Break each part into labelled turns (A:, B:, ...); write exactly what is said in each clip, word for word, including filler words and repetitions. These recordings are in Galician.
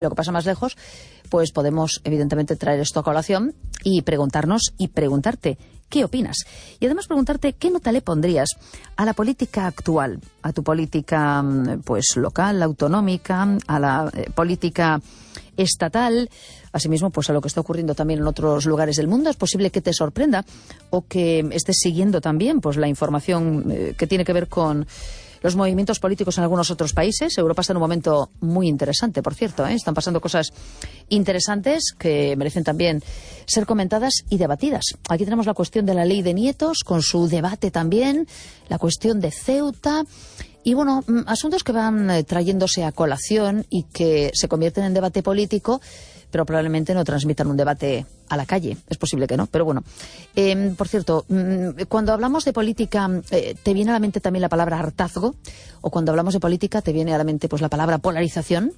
A: Lo que pasa más lejos, pues podemos evidentemente traer esto a colación y preguntarnos y preguntarte qué opinas. Y además preguntarte qué nota le pondrías a la política actual, a tu política pues local, autonómica, a la eh, política estatal, asimismo pues a lo que está ocurriendo también en otros lugares del mundo. Es posible que te sorprenda o que estés siguiendo también pues la información eh, que tiene que ver con los movimientos políticos en algunos otros países. Europa está en un momento muy interesante, por cierto, ¿eh? Están pasando cosas interesantes que merecen también ser comentadas y debatidas. Aquí tenemos la cuestión de la ley de nietos, con su debate también, la cuestión de Ceuta y, bueno, asuntos que van eh, trayéndose a colación y que se convierten en debate político, pero probablemente no transmitan un debate a la calle. Es posible que no, pero bueno. Eh, por cierto, cuando hablamos de política, eh, ¿te viene a la mente también la palabra hartazgo? O cuando hablamos de política, ¿te viene a la mente pues la palabra polarización?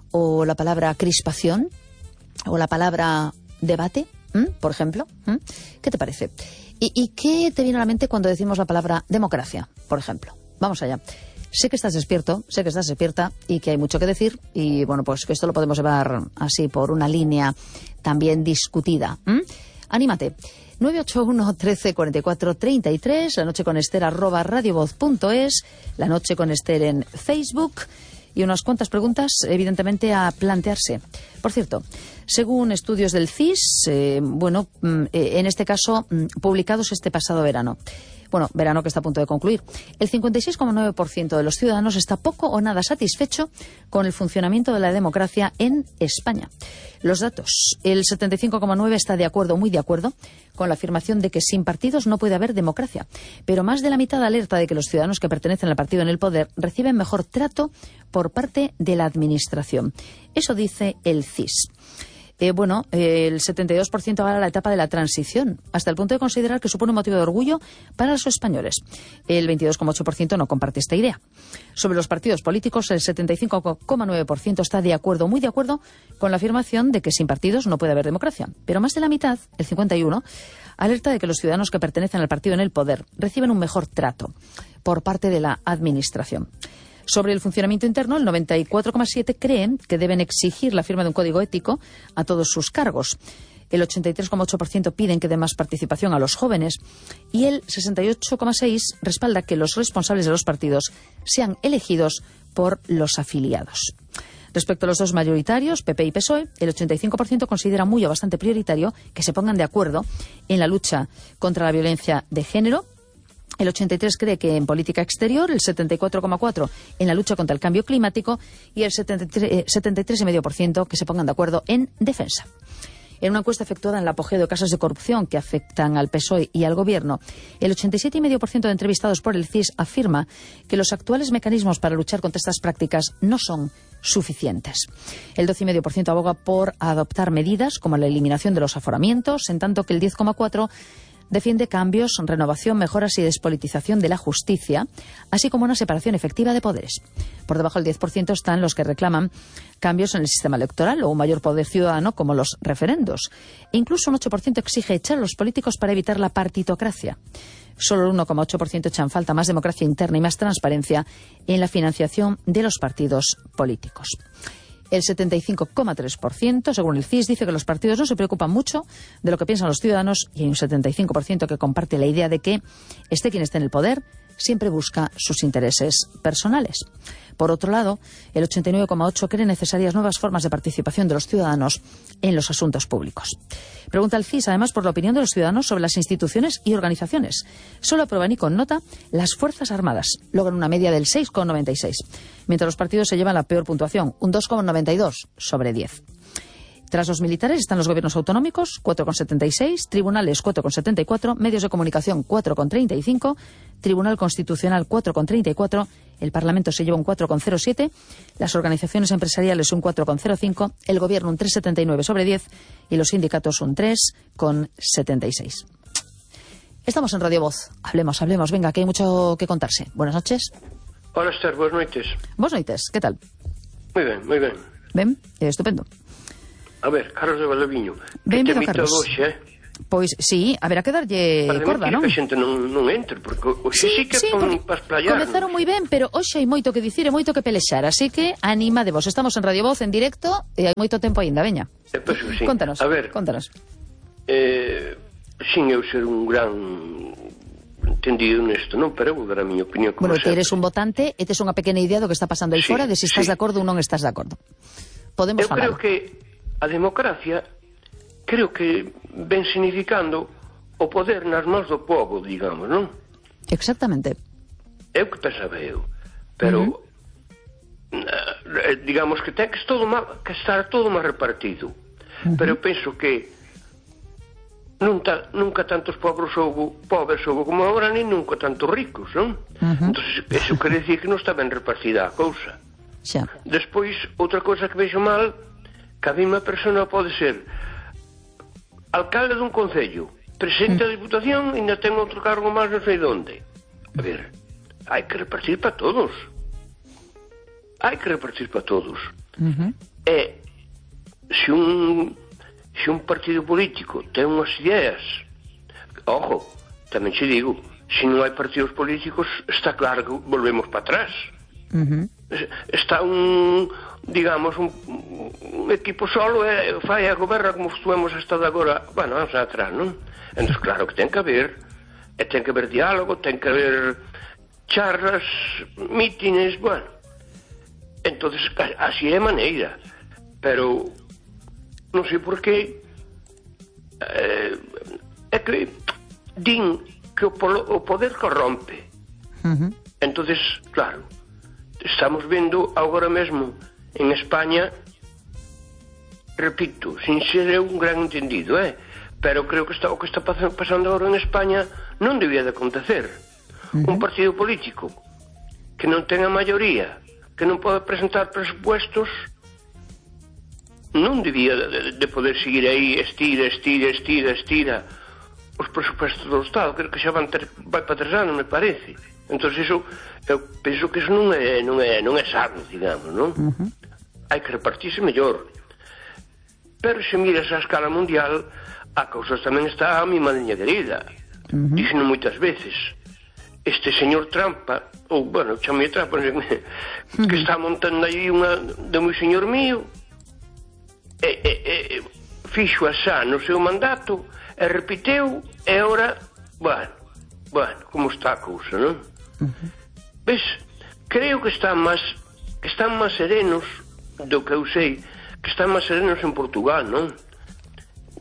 A: ¿O la palabra crispación? ¿O la palabra debate? ¿Mm? Por ejemplo. ¿Mm? ¿Qué te parece? ¿Y, ¿Y qué te viene a la mente cuando decimos la palabra democracia, por ejemplo? Vamos allá. Sé que estás despierto, sé que estás despierta y que hay mucho que decir y, bueno, pues que esto lo podemos llevar así por una línea también discutida. ¿Mm? Anímate. nueve ocho uno, trece, cuarenta y cuatro, treinta y tres, la noche con Ester arroba radiovoz punto es, la noche con Ester en Facebook y unas cuantas preguntas, evidentemente, a plantearse. Por cierto, según estudios del C I S, eh, bueno, eh, en este caso, publicados este pasado verano, Bueno, verano que está a punto de concluir. El cincuenta y seis coma nueve por ciento de los ciudadanos está poco o nada satisfecho con el funcionamiento de la democracia en España. Los datos. El setenta y cinco coma nueve por ciento está de acuerdo, muy de acuerdo, con la afirmación de que sin partidos no puede haber democracia. Pero más de la mitad alerta de que los ciudadanos que pertenecen al partido en el poder reciben mejor trato por parte de la administración. Eso dice el C I S. Eh, bueno, eh, el setenta y dos por ciento avala la etapa de la transición, hasta el punto de considerar que supone un motivo de orgullo para los españoles. El veintidós coma ocho por ciento no comparte esta idea. Sobre los partidos políticos, el setenta y cinco coma nueve por ciento está de acuerdo, muy de acuerdo, con la afirmación de que sin partidos no puede haber democracia. Pero más de la mitad, el cincuenta y uno por ciento, alerta de que los ciudadanos que pertenecen al partido en el poder reciben un mejor trato por parte de la administración. Sobre el funcionamiento interno, el noventa y cuatro coma siete por ciento creen que deben exigir la firma de un código ético a todos sus cargos. El ochenta y tres coma ocho por ciento piden que dé más participación a los jóvenes y el sesenta y ocho coma seis por ciento respalda que los responsables de los partidos sean elegidos por los afiliados. Respecto a los dos mayoritarios, P P y P S O E, el ochenta y cinco por ciento considera muy o bastante prioritario que se pongan de acuerdo en la lucha contra la violencia de género. El ochenta y tres cree que en política exterior, el setenta y cuatro coma cuatro por ciento en la lucha contra el cambio climático y el setenta y tres coma cinco por ciento que se pongan de acuerdo en defensa. En una encuesta efectuada en el apogeo de casos de corrupción que afectan al P S O E y al Gobierno, el ochenta y siete coma cinco por ciento de entrevistados por el C I S afirma que los actuales mecanismos para luchar contra estas prácticas no son suficientes. El doce coma cinco por ciento aboga por adoptar medidas como la eliminación de los aforamientos, en tanto que el diez coma cuatro por ciento defiende cambios, renovación, mejoras y despolitización de la justicia, así como una separación efectiva de poderes. Por debajo del diez por ciento están los que reclaman cambios en el sistema electoral o un mayor poder ciudadano, como los referendos. E incluso un ocho por ciento exige echar a los políticos para evitar la partitocracia. Solo el uno coma ocho por ciento echan falta más democracia interna y más transparencia en la financiación de los partidos políticos. El setenta y cinco coma tres por ciento, según el C I S, dice que los partidos no se preocupan mucho de lo que piensan los ciudadanos y hay un setenta y cinco por ciento que comparte la idea de que esté quien esté en el poder siempre busca sus intereses personales. Por otro lado, el ochenta y nueve coma ocho por ciento cree necesarias nuevas formas de participación de los ciudadanos en los asuntos públicos. Pregunta el C I S, además, por la opinión de los ciudadanos sobre las instituciones y organizaciones. Solo aprueban y con nota las Fuerzas Armadas. Logran una media del seis coma noventa y seis, mientras los partidos se llevan la peor puntuación, un dos coma noventa y dos sobre diez. Tras los militares están los gobiernos autonómicos, cuatro coma setenta y seis, tribunales, cuatro coma setenta y cuatro, medios de comunicación, cuatro coma treinta y cinco, Tribunal Constitucional, cuatro coma treinta y cuatro, el Parlamento se lleva un cuatro coma cero siete, las organizaciones empresariales un cuatro coma cero cinco, el Gobierno un tres coma setenta y nueve sobre diez y los sindicatos un tres coma setenta y seis. Estamos en Radio Voz. Hablemos, hablemos. Venga, que hay mucho que contarse. Buenas noches.
B: Hola, Esther. Buenas noches.
A: Buenas noches. ¿Qué tal?
B: Muy bien, muy bien.
A: Ben, eh, estupendo.
B: A ver, Carlos de Valdoviño.
A: Benvido, Carlos.
B: Hoxe, eh?
A: Pois sí, haberá que darlle corda, non?
B: Para que a xente non, non entre, porque hoxe sí, sí que
A: sí,
B: son para esplayarnos.
A: Comezaron moi ben, pero hoxe hai moito que dicir e moito que pelexar, así que anima de vos. Estamos en Radio Voz, en directo, e hai moito tempo aínda, veña.
B: Eh, pues, sí.
A: Contanos,
B: a ver,
A: contanos.
B: Eh, sin eu ser un gran entendido nesto, non? Pero eu vou dar a miña opinión como
A: Bueno,
B: sempre.
A: que eres un votante e tes unha pequena idea do que está pasando aí
B: Sí,
A: fora, de se estás
B: sí.
A: de acordo ou non estás de acordo. Podemos
B: Eu
A: falar.
B: creo que a democracia creo que ven significando o poder nas mãos do povo, digamos, non?
A: Exactamente.
B: É o que pensaba eu. Pero, uh -huh. eh, digamos que ten que, todo má, que estar todo máis repartido. Uh -huh. Pero penso que nunca, nunca tantos pobres houve, pobres houve como agora, ni nunca tantos ricos, non? Uh -huh. Entón, eso quere decir que non está ben repartida a cousa.
A: Xa.
B: Despois, outra cousa que vexo mal, que a mesma persona pode ser alcalde dun concello, presidente da Diputación e ainda ten outro cargo máis non sei onde. A ver, hai que repartir para todos. Hai que repartir para todos.
A: Uh -huh.
B: E se un se un partido político ten unhas ideas, ojo, tamén che digo, se non hai partidos políticos está claro que volvemos para atrás.
A: Uh -huh.
B: Está un, digamos, un, un equipo solo e fai a goberna como estuvemos hasta de agora, bueno, vamos atrás, non? Entón, claro que ten que haber, e ten que haber diálogo, ten que haber charlas, mítines, bueno. Entón, así é a maneira. Pero, non sei por qué, eh, é que din que o, polo, o poder corrompe.
A: Uh -huh.
B: Entón, claro, estamos vendo agora mesmo en España, repito, sin ser eu un gran entendido, eh? Pero creo que está, o que está pasando agora en España non debía de acontecer. Uh-huh. Un partido político que non ten a maioría, que non pode presentar presupuestos, non debía de, de poder seguir aí, estira, estira, estira, estira os presupuestos do Estado. Creo que xa van ter, vai para tres anos, me parece. Entón, iso, eu penso que iso non é, non é, non é sano, digamos, non? Uh-huh. Hai que repartirse mellor. Pero se miras a escala mundial, a cousa tamén está a mi madriña querida. Uh-huh. Dixeno moitas veces. Este señor Trampa, ou, bueno, chamei Trampa, uh-huh. que está montando aí unha de moi señor mío, e, e, e fixo asá no seu mandato, e repiteu, e ora, bueno, bueno, como está a cousa, non? Uh-huh. Ves, creo que están máis que están máis serenos do que eu sei, que están máis serenos en Portugal, non?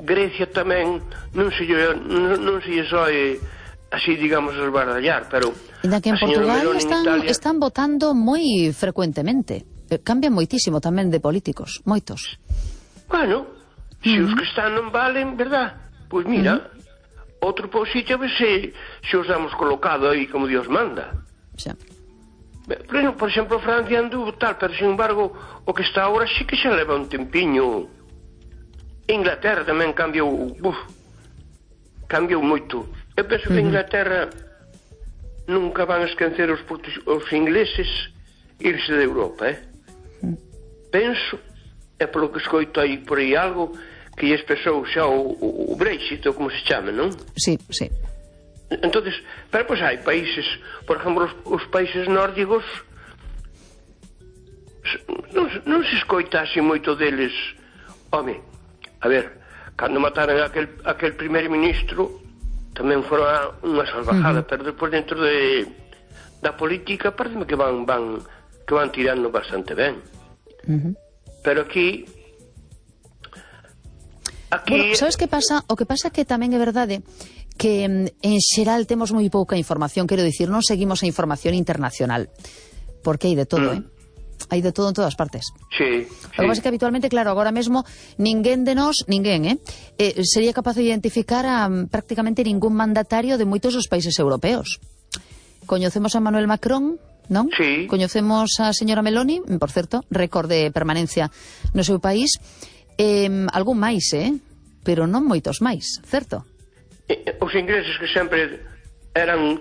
B: Grecia tamén non se non, non se soe así, digamos, esbardallar, pero
A: ainda que en Portugal están,
B: Italia...
A: están votando moi frecuentemente, cambian moitísimo tamén de políticos, moitos.
B: Bueno, se uh-huh. os que están non valen, verdad? Pois mira, uh-huh. outro posito, a ver se, se os damos colocado aí como Dios manda.
A: Xa.
B: Por exemplo, Francia anduvo tal, pero sin embargo o que está agora sí que xa leva un tempiño. Inglaterra tamén cambiou, uf, cambiou moito. Eu penso que Inglaterra nunca van a esquecer os, os ingleses irse de Europa, eh? Penso, é polo que escoito aí por aí algo que lles pesou xa o, o, o Brexit, ou como se chame, non?
A: Sí, sí.
B: Entonces, pero pois hai países, por exemplo, os, os países nórdicos non, non se escoitase moito deles. Home, a ver, cando mataran aquel, aquel primer ministro tamén fora unha salvajada, uh-huh. pero despois dentro de da política pareceme que van van que van tirando bastante ben. Uh-huh. Pero aquí aquí
A: bueno, sabes que pasa? O que pasa é que tamén é verdade que en xeral temos moi pouca información, quero dicir, non seguimos a información internacional, porque hai de todo, mm. eh? Hai de todo en todas partes.
B: Sí, sí.
A: O que pasa é que habitualmente, claro, agora mesmo ninguén de nós, ninguén, eh, eh sería capaz de identificar a um, prácticamente ningún mandatario de moitos dos países europeos. Coñecemos a Manuel Macron, non?
B: Sí.
A: Coñecemos a señora Meloni, por certo, récord de permanencia no seu país. Eh, algún máis, eh? Pero non moitos máis, certo?
B: Os ingleses que sempre eran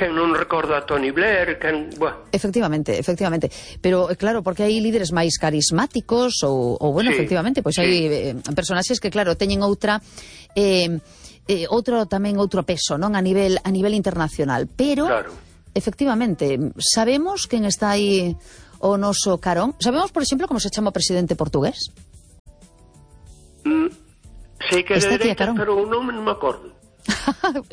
B: quen non recorda a Tony Blair, quen... Buah.
A: Efectivamente, efectivamente. Pero, claro, porque hai líderes máis carismáticos ou, ou bueno, sí, efectivamente, pois sí. hai eh, personaxes que, claro, teñen outra... Eh, eh, outro tamén outro peso, non? A nivel, a nivel internacional. Pero, claro, efectivamente, sabemos quen está aí o noso carón? Sabemos, por exemplo, como se chama o presidente portugués?
B: Mm, sei que é de dereita, pero o nome non me acordo.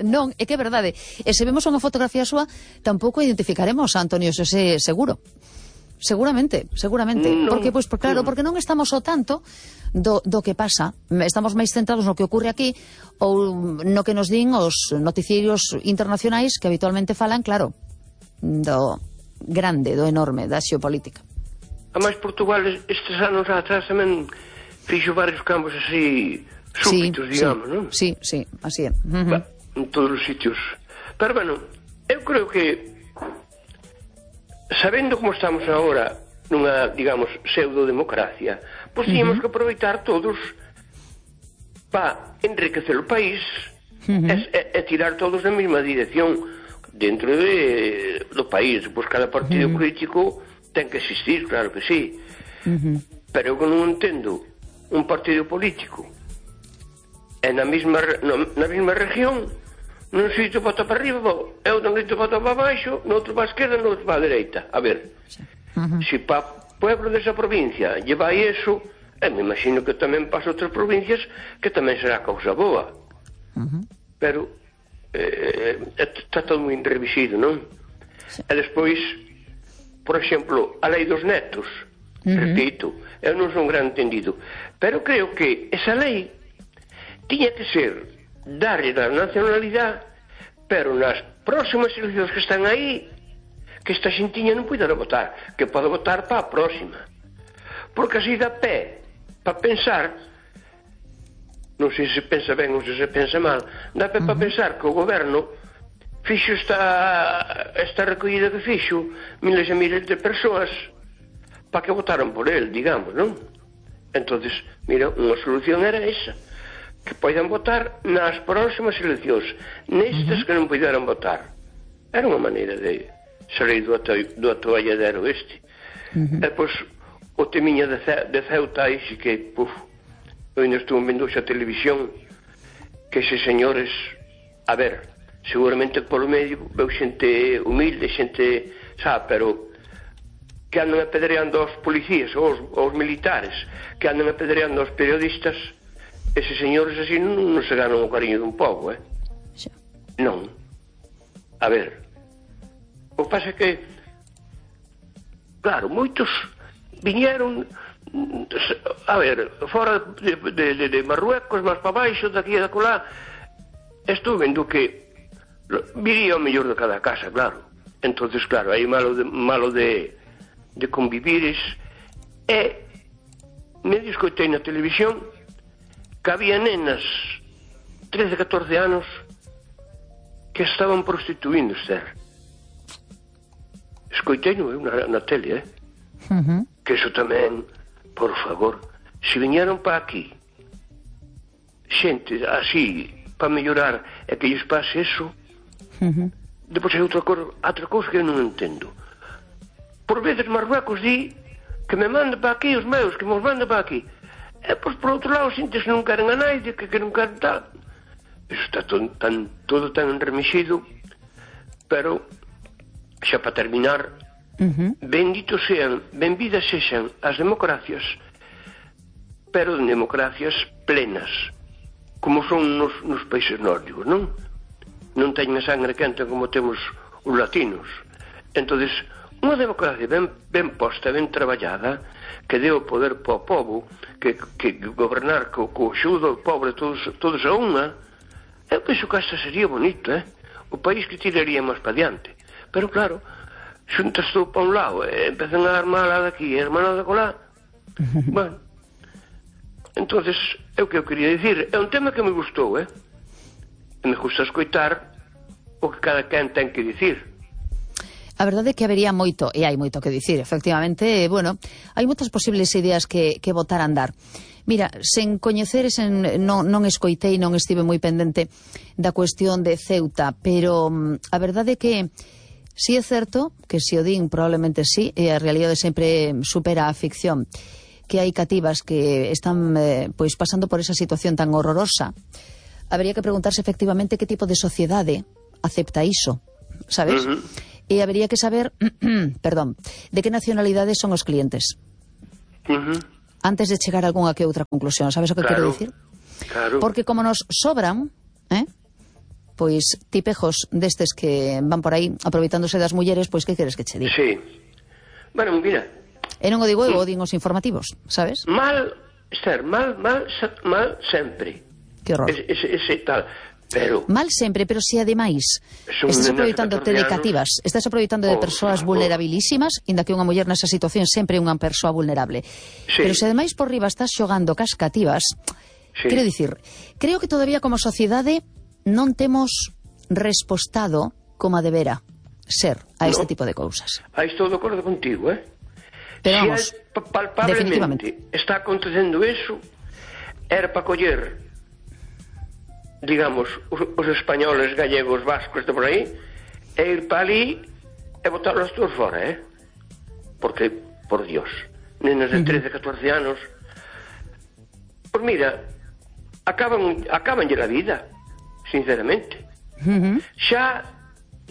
A: Non, é que é verdade. E se vemos unha fotografía súa, tampouco identificaremos a Antonio Xosé Seguro. Seguramente, seguramente. Non, porque, pois, por, claro, non. porque non estamos ao tanto do, do que pasa. Estamos máis centrados no que ocurre aquí ou no que nos din os noticiarios internacionais que habitualmente falan, claro, do grande, do enorme, da xeopolítica.
B: A máis Portugal estes anos atrás tamén fixo varios campos así... súbitos, sí, digamos,
A: sí,
B: non?
A: Sí, sí, así é. Uh -huh.
B: En todos os sitios. Pero, bueno, eu creo que sabendo como estamos agora nunha, digamos, pseudo-democracia, pois tínhamos uh -huh. que aproveitar todos para enriquecer o país uh -huh. e, e, e tirar todos na mesma dirección dentro de, do país. Pois cada partido uh -huh. político ten que existir, claro que sí. Uh -huh. Pero eu non entendo un partido político e na mesma, na mesma región, nun sitio vota para arriba, e outro sitio vota para baixo, no outro para a esquerda, no outro para a dereita. A ver, uh -huh. se para o pueblo desa provincia lle vai eso, e me imagino que tamén para outras provincias que tamén será causa boa. Uh -huh. Pero eh, está todo moi enrevisido, non? Sí. E despois, por exemplo, a lei dos netos, uh -huh. repito, eu non son un gran entendido, pero creo que esa lei tiña que ser darlle a nacionalidade, pero nas próximas eleccións que están aí, que esta xentiña non poida votar, que pode votar para a próxima. Porque así dá pé para pensar, non sei se pensa ben ou se se pensa mal, dá pé para pensar que o goberno fixo esta, esta recollida que fixo miles e miles de persoas para que votaran por el, digamos, non? Entonces, mira, unha solución era esa, que poidan votar nas próximas eleccións, nestas uh -huh. que non poideran votar. Era unha maneira de salir do, ato do atoalladero este. Uh -huh. E, pois, o temiña de, Ce de Ceuta aí, que, puf, eu ainda estou vendo xa televisión, que eses señores, a ver, seguramente polo medio veu xente humilde, xente, sabe, pero que andan apedreando aos policías, aos, aos militares, que andan apedreando aos periodistas. Eses señores así non, non se ganan o cariño dun pobo, eh? Sí. Non. A ver, o que pasa é que, claro, moitos viñeron, a ver, fora de, de, de, de Marruecos, máis para baixo, daqui e da colá, estou vendo que viría o mellor de cada casa, claro. Entonces, claro, hai malo de, malo de, de convivires, e me discoitei na televisión que había nenas trece, catorce anos que estaban prostituíndose. Escoitei-no eu na, na tele, eh? Uh -huh. Que eso tamén, por favor, se viñeron para aquí xente así para mellorar e que lles pase eso, uh -huh. depois hai outra, outra cousa que eu non entendo. Por veces Marruecos di que me manda para aquí os meus, que me os manda para aquí. E, pois, por outro lado, sintes que non queren a naide, que, que non queren tal. Iso está todo tan, todo tan enremixido, pero, xa para terminar, uh -huh. benditos sean, benvidas sexan as democracias, pero democracias plenas, como son nos, nos países nórdicos, non? Non teñen a sangre quente como temos os latinos. Entonces, unha democracia ben, ben posta, ben traballada, que deu o poder para o povo, que, que gobernar co, co xudo do pobre todos, todos a unha, eu penso que esta sería bonito, eh? O país que tiraría máis para diante. Pero claro, xuntas todo para un lado, e empezan a armar a daqui, e armar a da colá. Bueno, entonces, é o que eu quería dicir. É un tema que me gustou, eh? E me gusta escoitar o que cada quen ten que dicir.
A: A verdade é que habería moito, e hai moito que dicir, efectivamente, bueno, hai moitas posibles ideas que, que botar a andar. Mira, sen coñecer, sen, non, non escoitei, non estive moi pendente da cuestión de Ceuta, pero um, a verdade é que si é certo, que se o din probablemente sí, e a realidade sempre supera a ficción, que hai cativas que están eh, pois pasando por esa situación tan horrorosa. Habría que preguntarse efectivamente que tipo de sociedade acepta iso, sabes? Uh-huh. E habría que saber, perdón, de que nacionalidades son os clientes.
B: Uh-huh.
A: Antes de chegar a algunha que outra conclusión, sabes o que
B: claro,
A: quero dicir?
B: Claro.
A: Porque como nos sobran, eh, pois tipejos destes que van por aí aproveitándose das mulleres, pois que queres que che diga?
B: Sí. Bueno, mira.
A: E non o digo eu, o din os informativos, sabes?
B: Mal, Esther, mal, mal, mal sempre.
A: Que horror.
B: Ese, ese, ese tal. Pero
A: mal sempre, pero se ademais estás aproveitándote de cativas, estás aproveitando de persoas oh, vulnerabilísimas, inda que unha muller nesa situación sempre é unha persoa vulnerable. Sí. Pero se ademais por riba estás xogando cas cativas, sí. Quero dicir, creo que todavía como sociedade non temos respostado como a debera ser a este no. tipo de cousas.
B: Aí estou de acordo contigo, eh?
A: Pero
B: si
A: vamos,
B: palpablemente está acontecendo eso, era para coller, digamos, os, os españoles, gallegos, vascos de por aí, e ir para ali e botarlos todos fora, eh? Porque, por Dios, nenas de trece, catorce anos, pues mira, acaban acabanlle a vida, sinceramente. Uh-huh. Xa,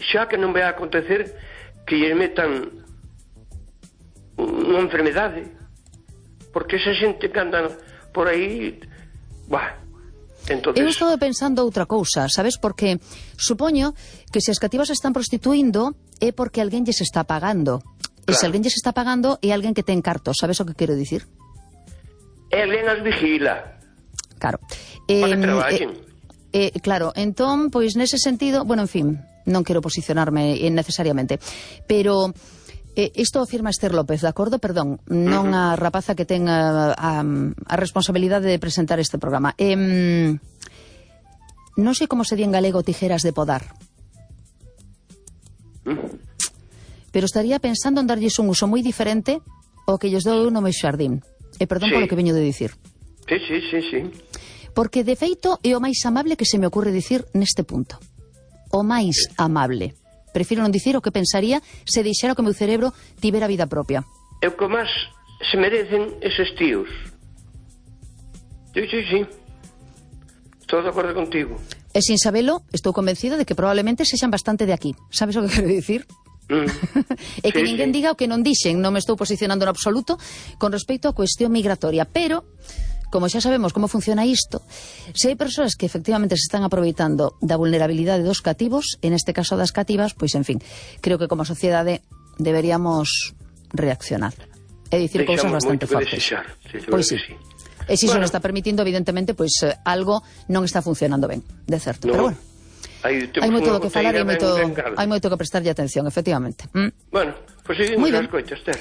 B: xa que non vai a acontecer que lle metan unha enfermedade, porque esa xente que anda por aí, bah, entonces...
A: Eu estou pensando outra cousa, sabes? Porque supoño que se as cativas están prostituindo é porque alguén lles está pagando. Claro. E se alguén lles está pagando é alguén que ten cartos, sabes o que quero dicir?
B: E alguén as vigila.
A: Claro.
B: Para que traballen.
A: Eh, eh, claro, entón, pois nese sentido, bueno, en fin, non quero posicionarme necesariamente, pero... Eh, isto afirma Esther López, de acordo? Perdón, non a rapaza que ten a, a, a responsabilidade de presentar este programa. Eh, non sei como se di en galego tijeras de podar. Pero estaría pensando en darlles un uso moi diferente ao que lles dou no meu xardín. E perdón sí. polo que veño de dicir.
B: Sí, sí, sí, sí.
A: Porque, de feito, é o máis amable que se me ocurre dicir neste punto. O máis sí. amable. Prefiro non dicir o que pensaría se deixara que o meu cerebro tivera vida propia.
B: É o que máis se merecen eses tíos. Sí, sí, sí. Estou de acordo contigo.
A: E sin sabelo, estou convencida de que probablemente sexan bastante de aquí. Sabes o que quero dicir? Mm. E que sí, ninguén sí. diga o que non dixen. Non me estou posicionando no absoluto con respecto á cuestión migratoria. Pero... como xa sabemos como funciona isto, se hai persoas que efectivamente se están aproveitando da vulnerabilidade dos cativos, en este caso das cativas, pois en fin, creo que como sociedade deberíamos reaccionar e dicir cousas bastante fortes. Pois sí. E se iso non está permitindo, evidentemente, pois algo non está funcionando ben, de certo. Pero bueno, hai moito do que falar e hai moito, hai moito que prestarlle atención, efectivamente.
B: Bueno, pois seguimos as coitas, Ter.